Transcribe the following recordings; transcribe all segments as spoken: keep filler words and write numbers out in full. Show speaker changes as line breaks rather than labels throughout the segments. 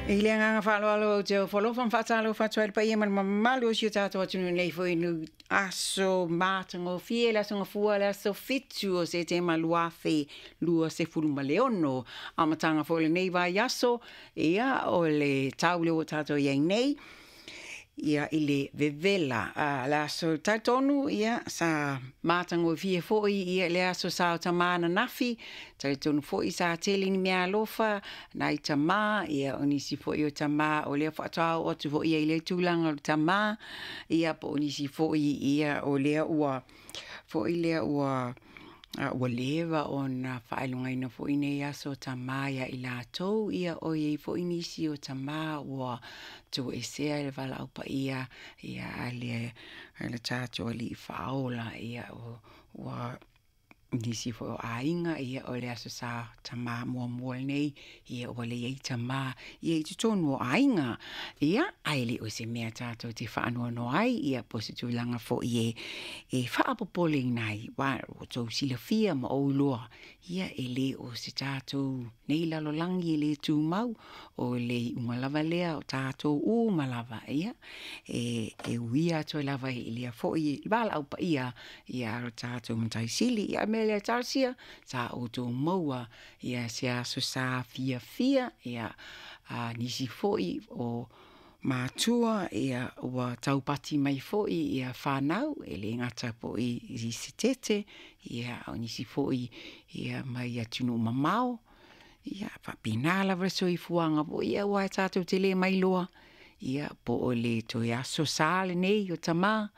I le agaga faaaloalo ou te ofo alofa ma faatalofa atu ai i le paia ma le mamalu o si o tatou atunuu nei foi i le aso matagofie, le aso Gafua, le aso fitu o Setema lua afe luasefulu ma le ono. Amataga foi o lenei vaiaso, ia o le tau lea ua tatou i ai nei, ia i le vevela. A, le aso talitonu, ia, sa matagofie foi ia le aso sa o tamā ananafi, talitonu foi sa tele ni meaalofa nai tamā, ia o nisi foi o tamā o lea faatoa oo atu foi i ai i lea tulaga o le tamā, ia po o nisi foi ia o lea ua foi lea ua ua leva ona faailogaina foi nei aso o tamā ia i latou, ia o i ai foi nisi o tamā ua toesea i le valaau paia ia a le, a le tatou Alii Faaola, ia ua nisi foi o aiga, ia o le aso sa tamā muamua lenei, ia ua leai tamā ia i totonu o aiga. Ia, ae le o se mea tatou te faanoanoa ai, ia po o se tulaga foi e, e faapopoleina ai, aua ua outou silafia ma ou iloa, ia e le o se tatou nei lalolagi e le tumau, o le iuga lava lea o tatou uma lava, ia, e, e uia atu ai lava i lea foi valaau paia ia a lo tatou Matai Sili. Ia, o le mea lea talosia, sa outou maua ia se aso sa fiafia, ia a nisi foi o matua, ia ua taupati mai foi ia whanau, e le gata foi i se tete, ia o nisi foi ia mai atunuu mamao, ia faapena lava le soifuaga foi, ia aua e tatou te le mailoa, ia po o le toe aso sa lenei o tamā,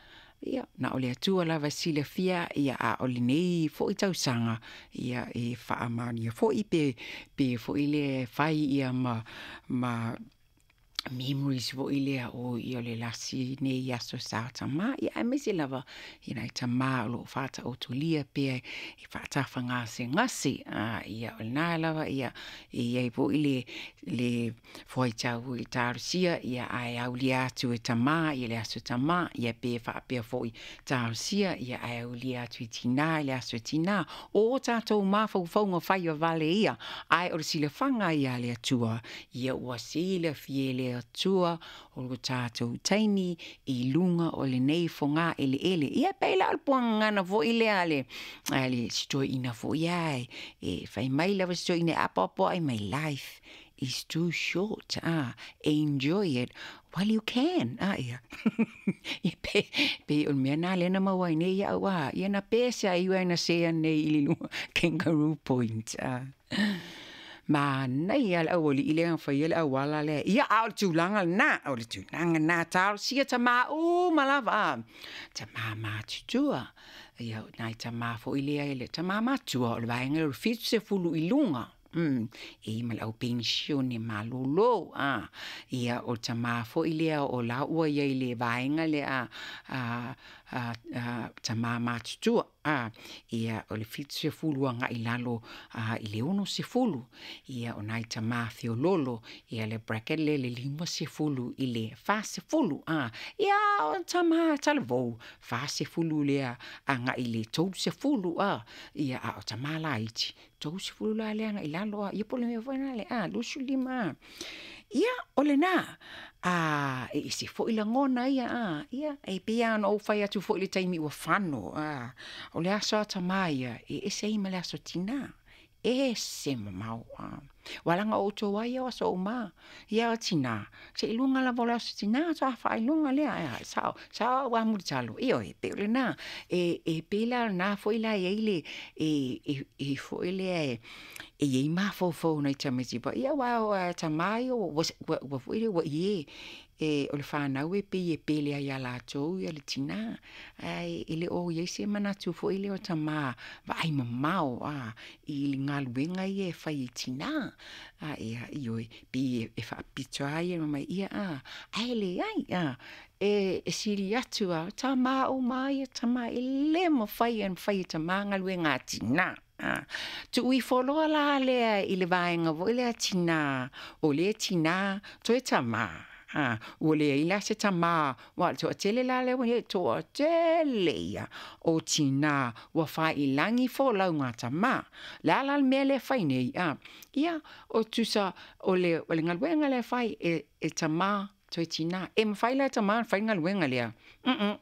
ia na o le Atua lava e silafia, ia a o lenei foi tausaga, ia e faamaonia foi pe, pe foi lea e fai ia ma, ma memories foi lea o ia o le lasi nei aso sa o tamā, ia aemaise lava i nai tamā o lo o faataotolia pea e faatafagasegase, a ia o lena lava ia e i ai foi le, le fuaitau i talosia, ia ae aulia atu e tamā i le aso tamā, ia pe faapea foi talosia, ia ae aulia atu i tinā i le aso tinā. O tatou mafaufauga faivavale ia, ae o le silafaga ia a le Atua, ia ua silafia e le Atua o lo tatou taimi i luga o lenei fogaeleele. Ia pei la o le puagagana foi lea a le, a le si toeaina foi ae, e fai mai lava si toeaina e apoapoai mai, life is too short, ah, enjoy it while you can. Ah, ia. Ia pe, pe o le mea nā lea na maua ai nei ia'u, ah, ia na pese ai ua na sea nei i le luga Kangaroo Point. Ah. Manaia le auali'i lea na faia le auala lea. Ia, a o le tulaga lenā, o le tulaga lenā, talosia tamā uma lava, ah. Tamā matutua, ia o nai tamā foi lea e le tamā matua o le vaega lea o le fitusefulu i luga. Mm, e i ma le au penisione malōlō, ah. Ia o le tamā foi lea o la ua i ai i le vaega lea a, a, a, tamā matutua, ah. Ia o le fitusefulu agai i lalo a, i le onosefulu. Ia o nai tamā feololo, ia le bracket lea le limasefulu i le fasefulu, ah. Ia o tamā talavou, fasefulu lea agai i le tolusefulu, ah. Ia a o tamā laiti, tolusefulu la lea agai i lalo, ah. Ia po o le mea foi lena le, ah, luasefulu lima, ah. Ia, o lenā, a, e ese foi lagona ia, a, ia, e pei lava ona ou fai atu foi i le taimi ua fano, a, o le aso a tamā ia, e ese ai ma le aso tinā, ese mamao, a. Ua laga o outou ai o aso uma, ia o tinā, seiloga lava o le aso tinā faatoa faailoga lea, a, sao, sao au a mulitalo, ioe, pei o lenā, e, e pei la o lenā foi la e i ai le, e, e, e foi lea e, e i ai mafaufau o nai tamaiti paia, aua o a tamā ia ua, ua, ua foi lea ua ie, e o le fanau e pei e pele ai iā latou ia le tinā, ae e le o i ai se manatu foi lea o tamā vaai mamao, a, i le galuega ia e fai e tinā, a, ia, ioe, pei e faapito lava ia ma mai ia, a, ae leai, a, e, e sili atu a, tamā uma ia tamā, e le mafai ona fai e tamā galuega a tinā. A, tuu ifo loa la lea i le vaega foi lea tinā, o lea tinā toe tamā. A, ua leai la se tamā, aua o le toatele la lea ua i ai, toatele ia o tinā ua faailagi folauga a tamā. O le a la le mea lea e fai nei? A, ia, o tusa o le, o le galuega lea e fai e, e tamā toe tinā. E mafai la e tamā ona fai le galuega lea? Mm-mm.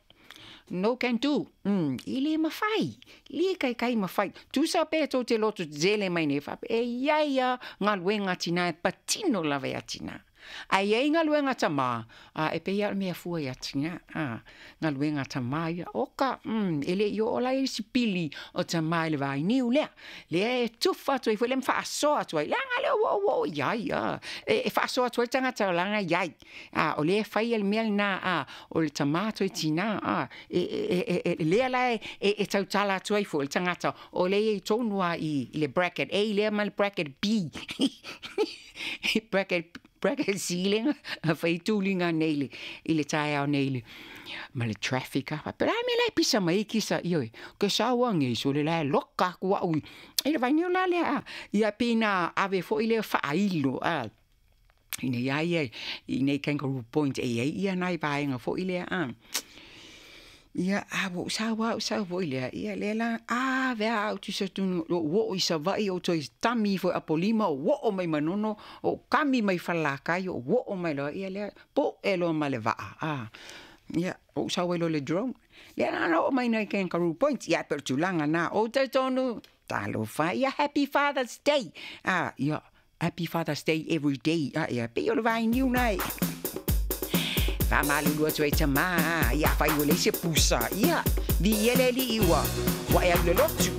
No can do. Mm, e le mafai. Le taitai mafai. Tusa pe tou te loto tetele mai nei faapea, e i ai lava galuega a tinā e patino lava iā tinā. Ae i ai galuega a tamā, a e pei lava o le mea fua iā tinā, a, galuega a tamā ia, oka, mm, e le i oo la i isi pili o tamā i le vainiu lea. Lea e tufa atu ai foi lea ma faasoa atu ai, leaga lea ua ou oo i ai, a, e, e faasoa atu ai le tagata leaga e i ai. A, o lea e faia le mea lena, a, o le tamā toe tinā, a, e, e, e, e, lea la e, e, e tautala atu ai foi le tagata o lea e i ai tonu lava i, i le bracket A lea ma le bracket B. Bracket, bracket C lea na fai tuliga nei le, i le taeao nei le, ma le traffic a. Faapea, o le a le mea la e pisa mai ai kisa, ioe, ke sau age sole la e loka aku au i, i le vainiu la lea, a. Ia pei na ave foi lea faailo, a, ina ia ia i nei Kangaroo Point e i ai ia nai vaega foi lea, a. Ia, a ua ou sau lava ou sau foi lea, ia lea la ave lava au tusa tonu, lou oo i Savaii ou toe tami ifo i Apolima ou oo mai Manono, ou kami mai Falelatai ou oo mai loa, ia lea poe loa ma le vaa, a. Ia, ou sau ai loa i le drone. Lea la na oo mai nei Kangaroo Point, ia e pei o le tulaga lena. Ou talitonu, talofa e, ia Happy Father's Day, a, ia, Happy Father's Day every day, a, ia, pei o le vainiu lena e faamalulu atu ai tamā, ia afai ua leai se pusa, ia, viia le Alii ua, ua e alu i le lotu.